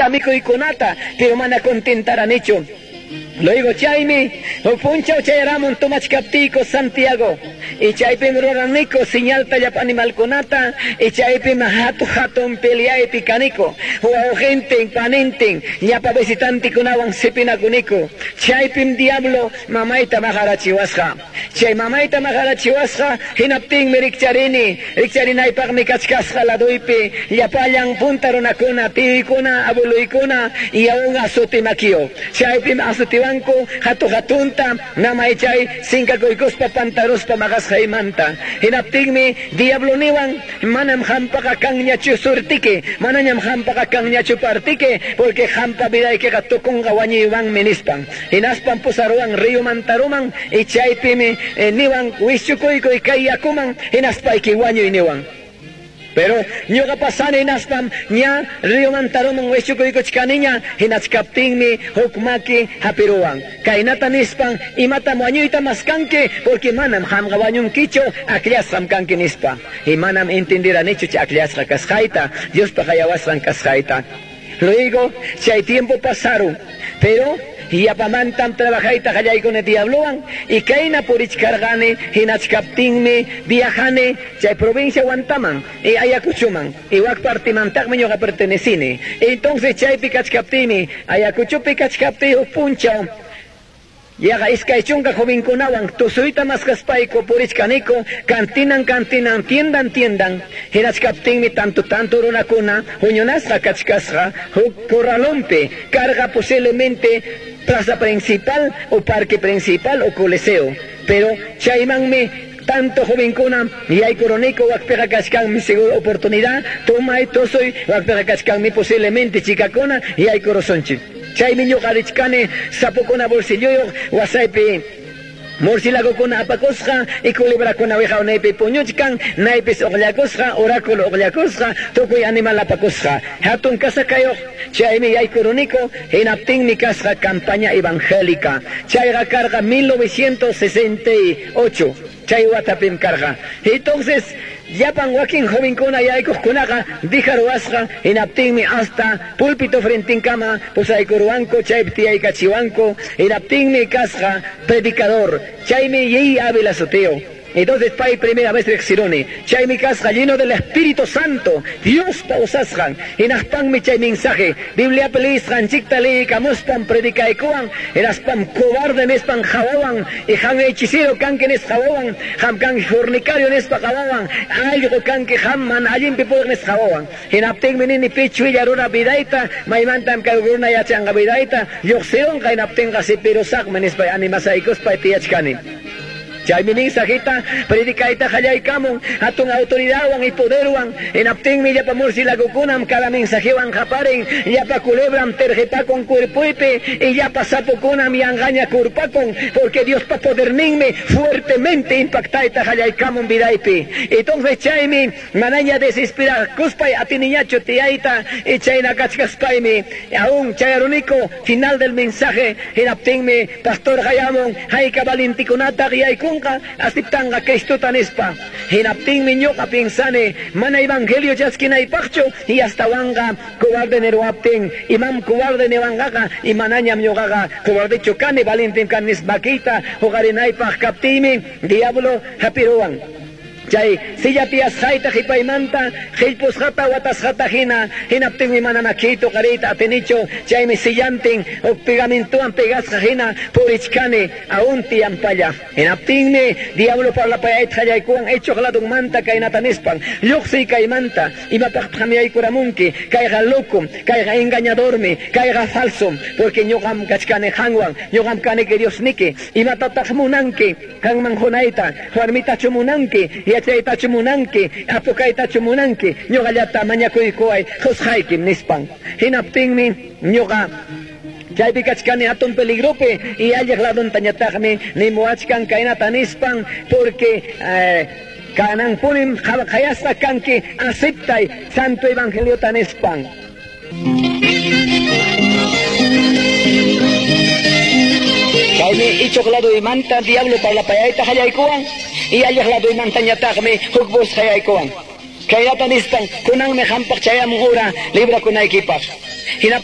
Yakuta, mikuykunata, pero mana contentaranichu. Luego chaymi huk punchaw chayaramun tomachkaptiyku Santiago. Y chaypim ruraniku señalta llapa animalkunata y chaypim hatu hatun peleaypi kaniku. Wawqintin, panintin, llapa visitantikunawan sipinakuniku. Chaypim diablo mamayta maqarachiwasqa. Chay mamayta maqarachiwasqa hinaptinmi rikcharini. Rikcharinaypaqmi kachkasqa laduypi llapallan punta runakuna, tiyuykuna, abueloykuna y aún asuti makiyo. Chaypim asutiwanku hatu hatunta namay chay sinkakuykuspa pantaruspa maqasqaymanta. Hinaptinmi diablo niwan manam hampaqa kanñachu surtiki, manañam hampaqa kanñachu partiki, porque hampa vidaykiqa tukunqa wañuywanmi nispan. Hinaspan pusaruwan río mantaruman y chaypimi niwan wischukuykuy kay yakuman hinaspayki wañuy niwan. Pero ñuqa pasani hinaspam ña río mantaruman wischukuykuchkaniña hinachkaptinmi huk maki hapiruwan. Kaynata nispan imatam wañuyta maskanki porque manam qamqa wañunkichu akllasqam kanki nispa. Y manam entendiranichu chay akllasqa kasqayta, Diospa qayawasqan kasqayta. Luego chay tiempo pasaron, pero yapamantam trabajayta qallaykuni diablowan y kayna purichkarqani hinachkaptinmi viajani chay provincia Huantaman y Ayacuchoman y wak partimantaqmi ñuqa pertenecini. Entonces chaypi kachkaptiymi Ayacuchopi kachkaptiy huk punchaw yaqa iskay chunka jovenkunawan tusuyta maskaspayku purichkaniku cantinan cantinan tiendan tiendan hinachkaptinmi tanto tanto runakuna huñunasqa kachkasqa huk corralonpi carga posiblemente plaza principal o parque principal o coliseo, pero chaymanmi tanto jovenkuna yaykuruniku wakpiqa kachkanmi seguro oportunidad tomay tusuy wakpiqa kachkanmi posiblemente chikakuna yaykurusunchik. Chaymi ñuqa richkani sapukuna bolsilloyuq wasaypi murciélagokuna apakusqa y culebrakuna wiqawnaypi puñuchkan naypis uqllakusqa oráculo uqllakusqa tukuy animal apakusqa hatun kasakayuq chaymi yaykuruniku hinaptinmi kasqa campaña evangélica chayqa karqa 1968 chay watapim karqa. Entonces llapan wakin jovenkuna yaykuqkunaqa dijaruwasqa hinaptinmi hasta púlpito frentinkama pusaykuruwanku chaypi tiyaykachiwanku hinaptinmi kasqa predicador chaymi Yey Ávila sutiyuq. Entonces pay primera vez riqsiruni chaymi kasqa lleno del Espíritu Santo Diospa usasqan hinaspanmi chay mensaje Bibliapi liyisqanchikta liyikamuspan predicaykuwan hinaspam cobarde nispan qawawan y qam hechicero kanki nispa qawawan qam kanki fornicario nispa qawawan allqu kanki qam mana allinpi puriq nispa qawawan. Hinaptinmi nini pichwilla runa vidayta maymantam kay runa yachanqa vidayta lluqsirunqa hinaptinqa sipirusaqmi nispa animasaykuspay tiyachkani. Chaymi mensajita predicayta qallaykamun hatun autoridadwan y poderwan hinaptinmi llapa murciélagokunam cada mensajewan qaparin llapa culebram terjepakun cuerpoypi y llapa sapokunam yanqaña kurpakun porque Diospa poderninmi fuertemente impactayta qallaykamun vidaypi. Entonces chaymi manaña desesperakuspay atiniñachu tiyayta y chayna kachkaspaymi aún chayaruniku final del mensaje hinaptinmi pastor qayamun hayka valintikunata yaykun aceptanqa Cristuta nispa. Hinaptinmi ñuqa pensani mana evangelio chaskinaypaqchu y astawanqa cobarde niruwaptin imam cobarde niwanqaqa y manañam ñuqaqa cobardechu kani valentin kani nispa makiyta huqarinaypaq kaptiymi diablo hapiruwan. Chay silla tiyasqayta qipaymanta qillpusqata watasqata hina hinaptinmi mana makiyta uqariyta atinichu chaymi sillantin huk pegamentowan pegasqa hina purichkani aún tiyanpalla. Hinaptinmi diablo parlapayayta qallaykuwan ichuq ladunmanta kaynata nispan lluqsiy kaymanta imapaqtaq yaykuramunki kayqa loco kayqa engañadormi kayqa falso porque ñuqam kachkani qanwan ñuqam kaniki Diosniki imatataq munanki qanman qunayta warmitachu munanki yachaytachu munanki apukaytachu munanki ñuqallata mañakuykuway qusqaykim nispan. Hinaptinmi ñuqa chaypi kachkani hatun peligropi y alliq laduntañataqmi nimuwachkan kaynata nispan porque kananpunim qhayasqa kanki aceptay santo evangeliota nispan. Chaymi ichuq laduymanta diablo parlapayayta qallaykuwan y alliq laduymantañataqmi huk voz qallaykuwan. Kaynata nispan kunanmi qampaq chayamun hora librakunaykipaq.